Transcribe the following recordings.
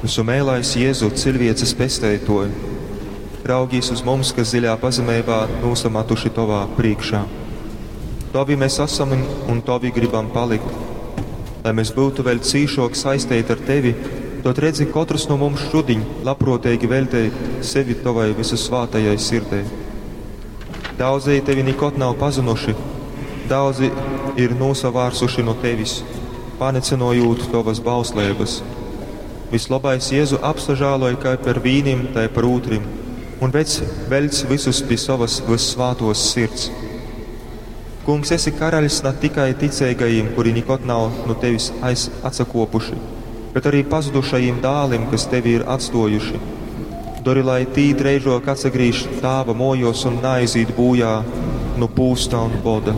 Vysumeilais Jezu, ciļvieces pesteitoj, raugīs uz mums, kas dziļā pazemeibā nūsamatuši Tovā prīškā. Tovi mēs esam un Tovi gribam palikt. Lai mēs būtu vēl cīšok saisteiti ar Tevi, dod redzi kotrs no mums šudiņ labprōteigi veļtej sevi Tovai vysusvātajai sirdei. Daudzi Tevi nikod nav pazinuši, daudzi ir nūsavārsuši nu Tevis, panicynojūt Tovas bausleibas. Vislabais Jēzu apsažāloj kai par vīnim, tai par ūtrim, un vec veļc vysus pi sovas vyssvātos sirds. Kungs, esi karaļs ne tikai ticeigajim, kuri nikod nav nu Tevis aiz atsakopuši, bet arī pazudušajim dālim, kas Tevi ir atstojuši. Dori, lai tī dreižok atsagrīž tāva mojos un naizīt būjā nu pūsta un boda.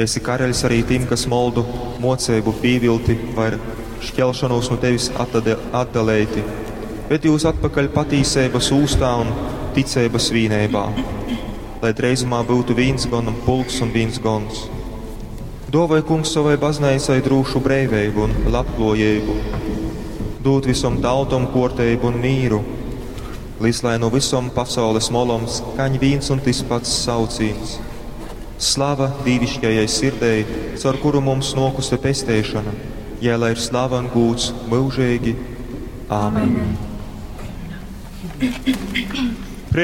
Esi karaļs arī tim, kas moldu moceibu pīvilti vai šķelšanos no Tevis atdaleiti, ved jūs atpakaļ patīseibas ūstā un ticeibas vīneibā, lai dreizumā būtu vīns gona pulks un vīns gons. Dovai kungs savai baznīcai drūšu breiveibu un labklājību, dūt visom tautom kuorteibu un mīru, līdz lai no visom pasaules molom skaņ vīns un tis pats saucīns. Slava dīvišķajai sirdei, caur kuru mums nokuse pesteišana, jai lai ir slava un gūds mūžīgi. Āmen. Amen.